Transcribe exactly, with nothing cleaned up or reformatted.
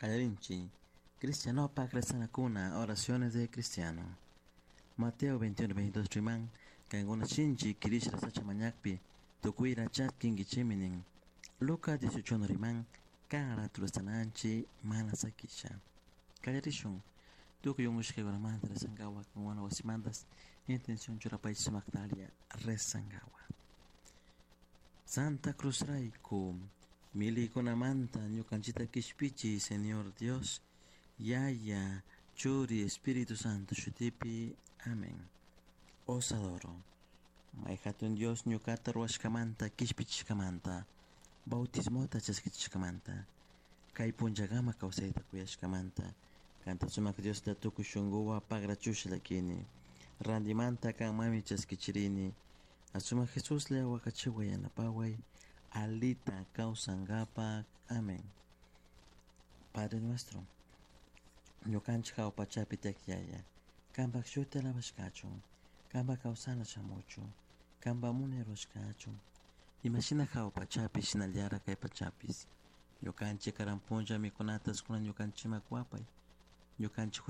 Qallarinchik Cristianopak rezanakuna oraciones de cristiano. Mateo veintiuno veintidós riman kankuna shinchi kirisha sacha mañakpi tukuyra chaskinkichikmi nin. Lucas dieciocho riman kan ratu rezananchik mana sakisha. Qallarishun tukuy unqushkakunamanta rezankawa kankuna wasimantas intención churapaychik sumaqtalla rezankawa. Santa Cruz rayku millaykunamanta ñukanchikta qishpichiy Señor Dios, Yaya, Churi, Espíritu Santo shutipi. Amén. Os adoro. May hatun Dios ñuqata ruwashkamanta qishpichishkamanta, bautismota chaskichishkamanta, kay punllakama kawsayta kuyashkamanta, kanta sumak Diosta tukuy shunquwan pagrachusha llakini, rantimanta kanmanmi chaskichirini, asumak Jesuslla waqachiway yanapaway, alita kawsankapak. Amén. Padre nuestro, ñukanchik hawa pachapi tiyak Yaya, kanpak shuti alabashkachun, kanpak kawsana shamuchun, kanpak munay rurashkachun, imashina hawa pachapi shinallara kay pachapis. Ñukanchik karan punlla mikunata kunan ñukanchikman kuwapay, ñukanchik